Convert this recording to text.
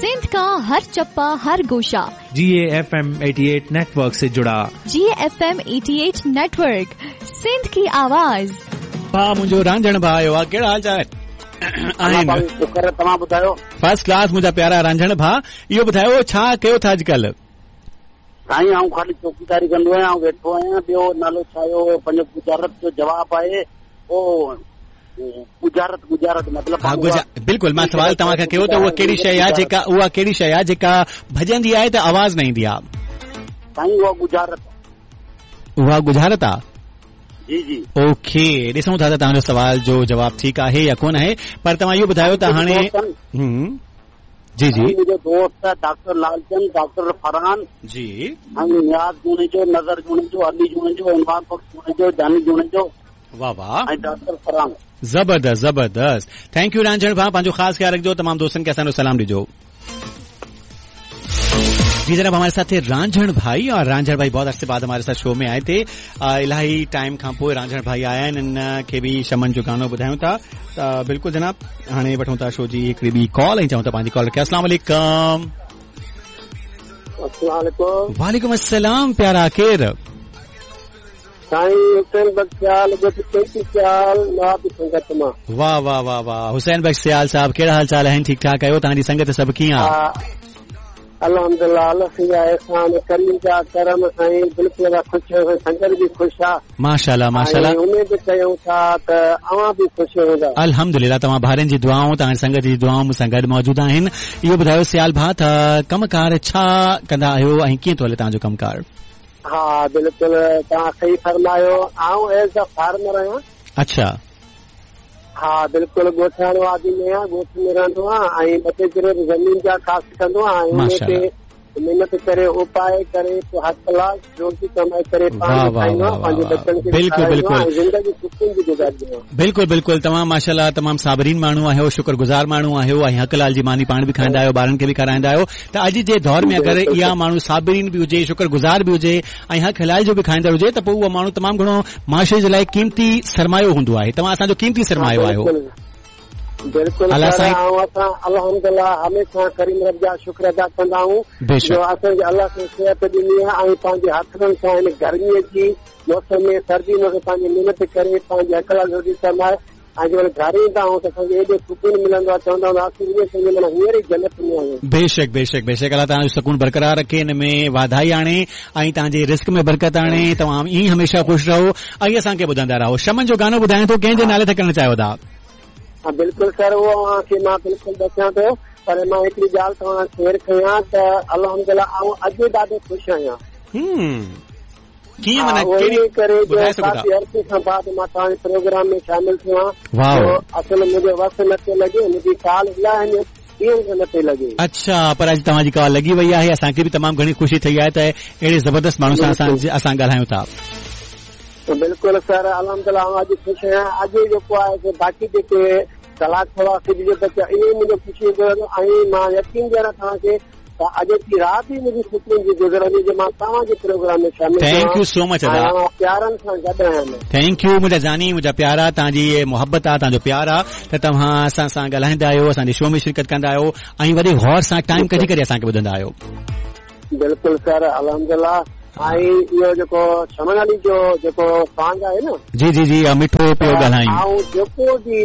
सिंध का हर चप्पा हर गोशा। जी FM 88 network से जुड़ा। जी FM 88 network, Sindh की आवाज़। भाउ मुंहिंजो रांझण भाउ आयो आहे, कहिड़ा हाल चाल आहिनि? शुक्र, तव्हां ॿुधायो? फर्स्ट क्लास मुंहिंजा प्यारा रांझण भाउ, इहो ॿुधायो छा कयो था अॼुकल्ह? साईं, आउं ख़ाली चौकीदारी कंदो आहियां, आउं वेठो आहियां। ॿियो नालो छा आयो पंहिंजो? गुजारत जो जवाबु आहे उहो गुजारत, गुजारत मतिलबु। हा, बिल्कुलु, मां सवाल तव्हांखां कयो त उहा कहिड़ी शइ आहे जेका, उहा कहिड़ी शइ आहे जेका भॼंदी आहे त आवाज़ न ईंदी आहे? साईं, उहा गुजारत। उहा गुजारत आहे? जी जी। ओके, ॾिसूं था त तव्हांजो सवाल जो जवाबु ठीकु आहे या कोन आहे, पर तव्हां इहो ॿुधायो त हाणे। जी जी। मुंहिंजो दोस्त आहे डॉक्टर लालचंद, डॉक्टर फरहान जी, ऐं नियाज़ जुनेजो, नज़र जुनेजो, अली जुनेजो, इमरान बख़्श जुनेजो, जानी जुनेजो। वाह वाह। ऐं डॉक्टर फरहान। ज़बरदस्त ज़बरदस्त, thank you Ranjhan भाउ, पंहिंजो ख़ासि ख़्यालु रखिजो, तमामु दोस्तनि खे असांजो सलाम ॾिजो। जी जनाब, हमारे साथ थे रांझण भाई, और रांझण भाई बहुत अरसे बाद हमारे साथ शो में आए थे। इलाही टाइम खां पोइ रांझण भाई आया आहिनि, इन खे बि शमन जो गानो ॿुधायूं था। त बिल्कुलु जनाब, हाणे वठूं था शो जी हिकिड़ी ॿी कॉल ऐं चऊं था पंहिंजी कॉल रखे। अस्सलाम वालेकुम। अस्सलाम वालेकुम। वालेकुम अस्सलाम प्यारा, केरु? साईं हुसैन बख्श सियाल, ॻोठ चैती सियाल, नवाब संगत मां। वाह वाह वाह वाह, हुसैन बख्श सियाल साहब, कहिड़ा हाल चाल आहिनि? ठीकु ठाक आहियो? तव्हांजी संगत सभु कीअं आहे? अल्हम्दुलिल्लाह, अल्लाह जा एहसान, करीम जा करम साईं, बिल्कुलु असां ख़ुशि आहियूं, संगत बि ख़ुशि आहे। माशाल्लाह माशाल्लाह। ऐं उमेद कयूं था त अव्हां बि ख़ुशि हूंदा। अल्हम्दुलिल्लाह, तव्हां भाइरनि जी दुआऊं, तव्हांजी संगत जी दुआऊं मूंसां गॾु मौजूदु आहिनि। इहो ॿुधायो सियाल भाउ, त कमकार छा कंदा आहियो ऐं कीअं थो हले तव्हांजो कमकार? हा बिल्कुलु, तव्हां सही फरमायो, आउं एज अ फार्मर आहियां। अच्छा। हा बिल्कुलु, ॻोठाणो आदमी आहियां, ॻोठ में रहंदो आहियां ऐं ॿ टे किलो ज़मीन जा काश्त कंदो आहियां ऐं उन ते महिनत करे, उपाए करे, पोइ हर कलाक रोज़ी कमाए करे पाण खाईंदो आहियां, पंहिंजे बच्चनि खे बिल्कुलु बिल्कुलु, ज़िंदगी सुकून जी गुज़ारींदो आहियां। बिल्कुलु बिल्कुलु, तव्हां माशाल्लाह तमामु साबरीन माण्हू आहियो, शुक्रगुज़ार माण्हू आहियो ऐं हक़ लाल जी मानी पाण बि खाईंदा आहियो, ॿारनि खे बि खाराईंदा आहियो। त अॼु जे दौर में अगरि इहा माण्हू साबरीन बि हुजे, शुक्रगुज़ार बि हुजे ऐं हक़ हलाल जो बि खाईंदड़ हुजे त पोइ उहो माण्हू तमामु घणो माशरे जे लाइ क़ीमती सरमायो हूंदो आहे। तव्हां असांजो क़ीमती सरमायो आहियो। बिल्कुलु, असां अल्हम्दुलिल्लाह हमेशा करीम रब जा शुक्र अदा कंदा आहियूं जो असांखे अल्लाह साईं सिहत ॾिनी आहे ऐं पंहिंजे हथनि सां हिन गर्मीअ जी मौसम में, सर्दी में पंहिंजी महिनत करे पंहिंजी हक़ लाइ रोटी कमाए ऐं जंहिं महिल घर ईंदा आहियूं त असांखे एॾो सुकून मिलंदो आहे, चवंदा आहियूं असीं माना हींअर ई जन्नत में आहियूं। बेशक बेशक बेशक, अल्लाह तव्हांजो सुकून बरक़रार रखे, हिन में वाधाई आणे ऐं तव्हांजे रिस्क में बरकत आणे। तव्हां ईअं हमेशा ख़ुशि रहो ऐं असांखे ॿुधंदा रहो। शमन जो गानो ॿुधायां थो, कंहिंजे नाले ते करणु चाहियो था? हा बिल्कुलु सर, उहो तव्हांखे मां बिल्कुलु ॾसियां थो, पर मां हिकिड़ी ॻाल्हि तव्हां शेयर कयां त अल्हम्दुलिल्लाह आउं अॼु ॾाढो ख़ुशि आहियां। कीअं माना करे जो काफ़ी अरसे खां बाद मां तव्हांजे प्रोग्राम में शामिल थियो आहियां। असल मुंहिंजो वस न पियो लॻे, मुंहिंजी कॉल इलाही न पई लॻे। अच्छा, पर अॼु तव्हांजी कॉल लॻी वई आहे, असांखे बि तमामु घणी ख़ुशी थी आहे त अहिड़े ज़बरदस्त माण्हू सां असां ॻाल्हायूं था। बिल्कुलु सर, अल्हम्दुलिल्लाह आउं अॼु ख़ुशि आहियां। अॼु जेको आहे बाक़ी जेके कलाक सवा जो बचा इहो मुंहिंजो ख़ुशी गुज़रंदो ऐं मां यकीन ॾियारां तव्हांखे त अॼु राति ई मुंहिंजी सुकून जी गुज़रंदी जो मां तव्हांजे प्रोग्राम में शामिल। Thank you so much अदा, प्यारनि सां गॾु आहियां। Thank you मुंहिंजा जानी, मुंहिंजा प्यारा, तव्हांजी मोहबत आहे, तव्हांजो प्यार आहे त तव्हां असां सां ॻाल्हाईंदा आहियो, असांजे शो में शिरकत कंदा आहियो ऐं वॾे गौर सां टाइम कढी करे असांखे ॿुधंदा आहियो। बिल्कुलु सर, अल्हम्दुलिल्लाह। ऐं इहो जेको शमन अली जो जेको सॉन्ग आहे न, जी जी जी, मिठो पियो ॻाल्हायूं, ऐं जेको बि